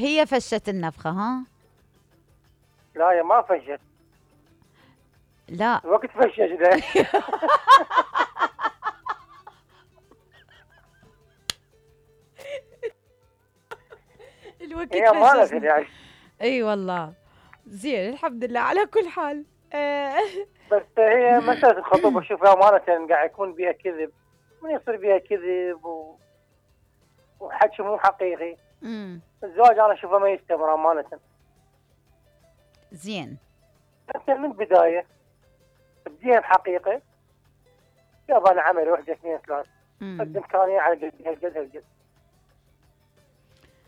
هي فشت النفخة ها؟ لا يا ما فشت. لا الوقت فشش ده. الوقت هي أمانة فششني. يعني. اي والله. زين الحمد لله على كل حال. بس هي مسألة الخطوبة شوفها أمانة قاعد يكون بيها كذب، من يصير بيها كذب وحكي مو حقيقي. الزواج أنا أشوفه ما يستمر أمانة. زين. أنت من البداية تبديها بحقيقة، يابا أنا عملي 1 2 3 قد إمكانية على قد هالقد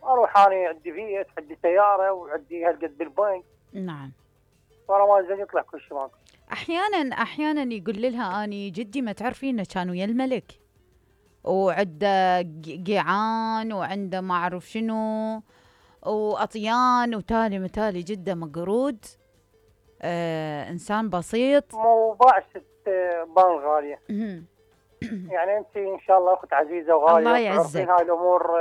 أروح أنا عندي بيت، عندي سيارة، وعندي هالقد بالبنك. نعم. ورا ما زين يطلع كل شيء ماكو. أحيانا يقول لها أني جدي ما تعرفين كان ويا الملك وعنده قيعان وعنده ما أعرف شنو وأطيان وتالي متالي جدا مقرود. إنسان بسيط. مو بعشت بان غالية. يعني أنت إن شاء الله أخت عزيزة وغالية الله يعزك. وتعرفين هاي الأمور.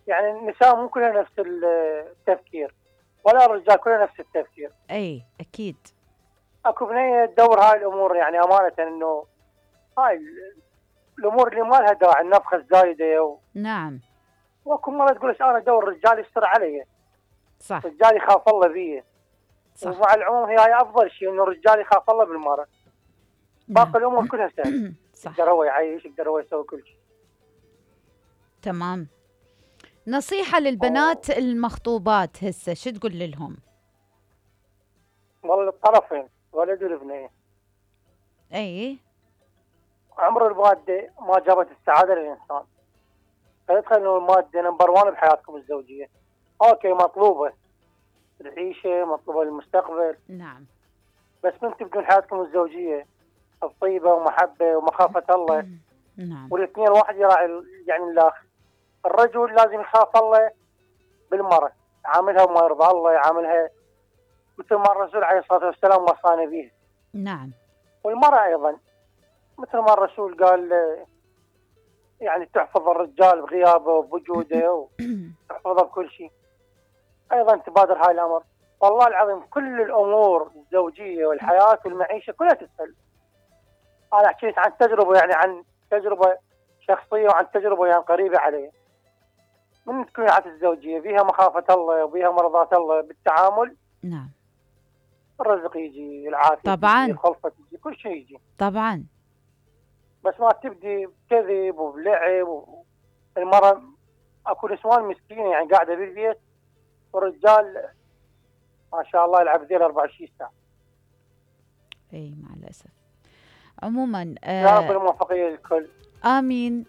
يعني النساء مو كلها نفس التفكير، ولا الرجال كلها نفس التفكير. أي أكيد. أكو بنية تدور هاي الأمور، يعني أمانة إنه هاي الأمور اللي ما لها داعي، النفخة الزايدة نعم. واكو مرة تقول أنا أدور رجال يستر علي. صح. رجال يخاف الله بيه. صح. ومع العموم هي أفضل شيء إنه الرجال يخاف الله بالمرأة. باقي الأمور كلها سهلة. صح. يقدر هو يعيش، يقدر هو يسوي كل شيء. تمام. نصيحة للبنات المخطوبات هسه شو تقول لهم؟ والله الطرفين ولد والبنية. اي. عمر المادة ما جابت السعادة للإنسان. فيدخل إنه المادة نمبر 1 بحياتكم الزوجية. أوكي مطلوبة العيشة، مطلوبة للمستقبل. نعم. بس من تبدون حياتكم الزوجية الطيبة ومحبة ومخافة الله. نعم. والاثنين واحد يراعي يعني الآخر. الرجل لازم يخاف الله بالمرأة، يعاملها وما يرضى الله، يعاملها مثل ما الرسول عليه الصلاة والسلام وصانا به. نعم. والمرأة أيضا مثل ما الرسول قال يعني تحفظ الرجال بغيابه وبوجوده وتحفظه بكل شيء. أيضا تبادر هاي الأمر. والله العظيم كل الأمور الزوجية والحياة والمعيشة كلها تسهل. أنا حكيت عن تجربة، يعني عن تجربة شخصية وعن تجربة يعني قريبة علي. من تكون حياة الزوجية بيها مخافة الله وبيها مرضاة الله بالتعامل. نعم. الرزق يجي، العافية طبعا تجي، الخلفة تجي، كل شيء يجي. طبعا. بس ما تبدي بكذب وبلعب. المرأة اكو نسوان مسكينة يعني قاعدة بالبيت، والرجال ما شاء الله يلعب ذيل 24 ساعة. اي مع الأسف. عموما يا رب الموفقية للكل. آمين.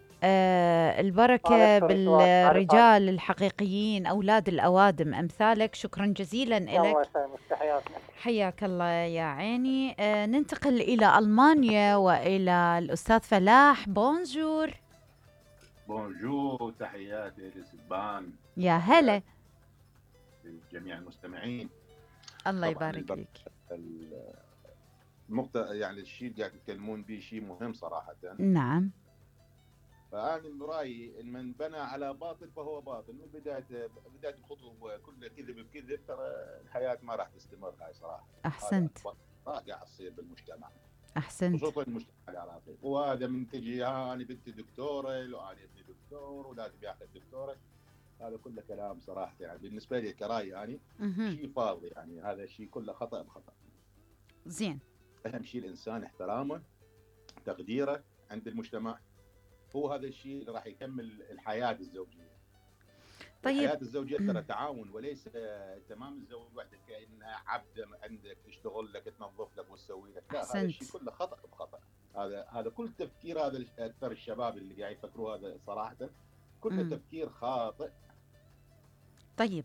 البركة بالرجال الحقيقيين أولاد الأوادم أمثالك. شكرا جزيلا لك. حياك الله يا عيني. ننتقل إلى ألمانيا وإلى الأستاذ فلاح. بونجور. بونجور، تحياتي لسبان. يا هلا لجميع المستمعين. الله يبارك فيك. النقطة يعني الشيء اللي قاعد يتكلمون به شيء مهم صراحة. نعم. فأنا من رأيي إن من بنى على باطل فهو باطل. من بداية الخطوة كلها كذب بكذب، ترى الحياة ما راح تستمر. هاي صراحة. أحسنت. قاعد تصير بالمجتمع. أحسنت. خصوصا المجتمع العراقي. وهذا من تجي أنا بنتي دكتورة، لو أنا ابني دكتور ولازم ياخذ دكتورة. هذا كله كلام صراحة يعني بالنسبة لي كرأي يعني شيء فاضي. يعني هذا الشيء كله خطأ بخطأ. زين. أهم شيء الإنسان احترامه، تقديره عند المجتمع. هو هذا الشيء اللي راح يكمل الحياة الزوجية. طيب. الحياة الزوجية ترى تعاون، وليس تمام الزوج وحدك كأنها عبد عندك تشتغل لك تنظف لك وتسوي لك. لا، هذا الشيء كله خطأ بخطأ. هذا كل تفكير، هذا أكثر الشباب اللي قاعد يفكروا هذا صراحة كله تفكير خاطئ. طيب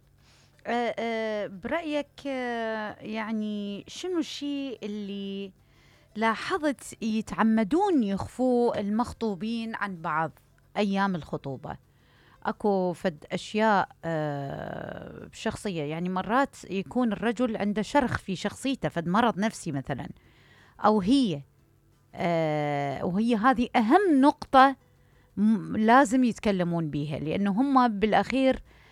برأيك يعني شنو الشيء اللي لاحظت يتعمدون يخفوه المخطوبين عن بعض أيام الخطوبة؟ أكو فد أشياء شخصية، يعني مرات يكون الرجل عنده شرخ في شخصيته، فد مرض نفسي مثلا، أو هي وهي هذه أهم نقطة لازم يتكلمون بيها، لأنه هم بالأخير